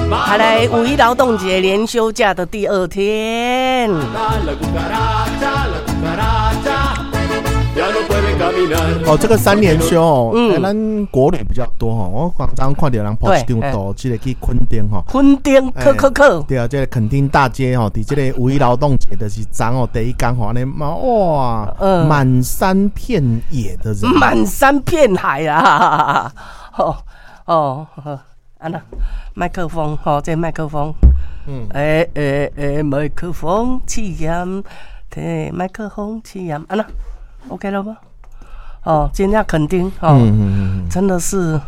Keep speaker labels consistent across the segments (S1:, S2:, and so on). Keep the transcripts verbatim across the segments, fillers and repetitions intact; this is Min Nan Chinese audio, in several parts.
S1: 好來，五一勞動節連休假的第二天。
S2: 哦，這個三連休哦，嗯，咱國旅比較多吼。我剛剛看著人 po 一張圖，這個去墾丁吼。
S1: 墾丁，去去去。
S2: 對啊，這個墾丁大街吼，佇這個五一勞動節就是昨哦，第一工吼，按呢哇，滿山遍野的人，
S1: 滿山遍海啊！哦哦，按呢，麥克風，吼，這麥克風，嗯，欸欸欸，麥克風試驗，對，麥克風試驗，按呢，OK 了嗎？哦，今天墾丁哦，真的是，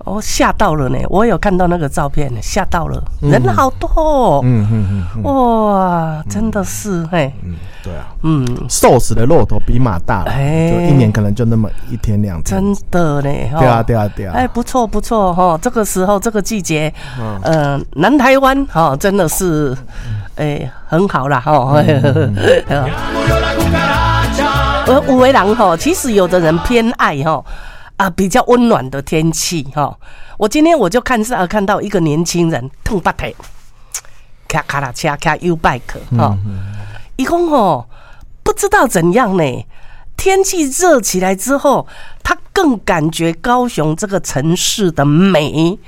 S1: 我嚇到了呢。我有看到那個照片，嚇到了，人好多哦。嗯嗯嗯，哇，真的是嘿。
S2: 嗯，對啊，嗯，瘦死的駱駝比馬大，哎，就一年可能就那麼一天兩天。
S1: 真的呢。
S2: 對啊，對啊，對啊。
S1: 哎，不錯不錯哈，這個時候這個季節，呃，南台灣哈真的是，哎，很好啦哈。而有的人吼，其實有的人偏愛吼啊，比較溫暖的天氣哈。我今天我就看是看到一個年輕人褪腹體，騎腳踏車騎 YouBike 哈，伊講吼不知道怎樣呢？天氣熱起來之後，他更感覺高雄這個城市的美。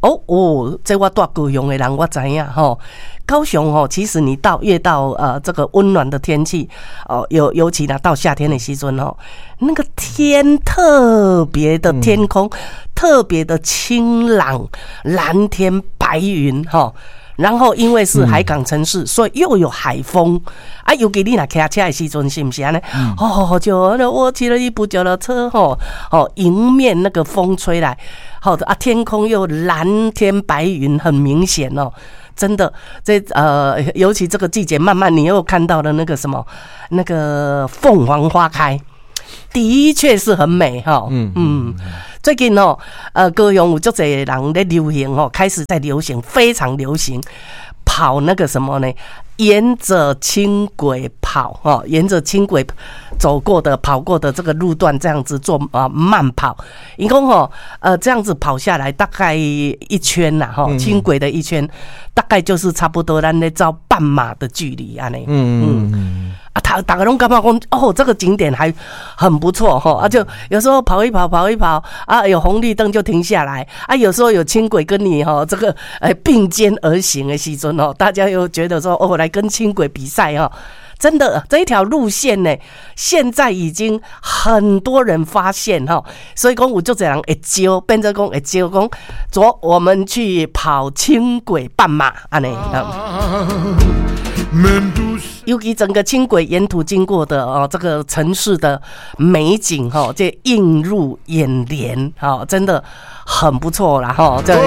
S1: 哦哦，這我住高雄的人我知影吼。高雄吼，其實你到越到呃這個溫暖的天氣哦，尤尤其呢到夏天的時陣哦，那個天特別的天空特別的清朗，藍天白雲哈。然後因為是海港城市，所以又有海風啊。尤其你若騎車的時陣，是毋是按呢？哦，就我騎了一部腳踏車，吼哦，迎面那個風吹來，好的啊，天空又藍天白雲，很明顯哦。真的，這呃，尤其這個季節，慢慢你又看到了那個什麼，那個鳳凰花開，的確是很美哈。嗯嗯，最近哦，呃，高雄有足濟人咧流行哦，開始在流行，非常流行跑那個什麼呢？沿着輕軌跑哈，沿着輕軌走過的、跑過的這個路段，這樣子做啊慢跑。伊講吼，呃，這樣子跑下來大概一圈呐，哈，輕軌的一圈，大概就是差不多咱咧走半馬的距離按呢。嗯嗯。啊，他逐家攏感覺講哦，這個景點還很不錯哈，啊，就有時候跑一跑，跑一跑啊，有紅綠燈就停下來啊，有時候有輕軌跟你哈這個誒並肩而行的時陣哦，大家又覺得說哦，來跟輕軌比賽哈，真的這一條路線呢，現在已經很多人發現哈，所以講有足濟人會招，變做講會招講，走，我們去跑輕軌半馬按呢。尤其整個輕軌沿途經過的哦，這個城市的美景哈，這映入眼簾哈，真的很不錯啦哈。這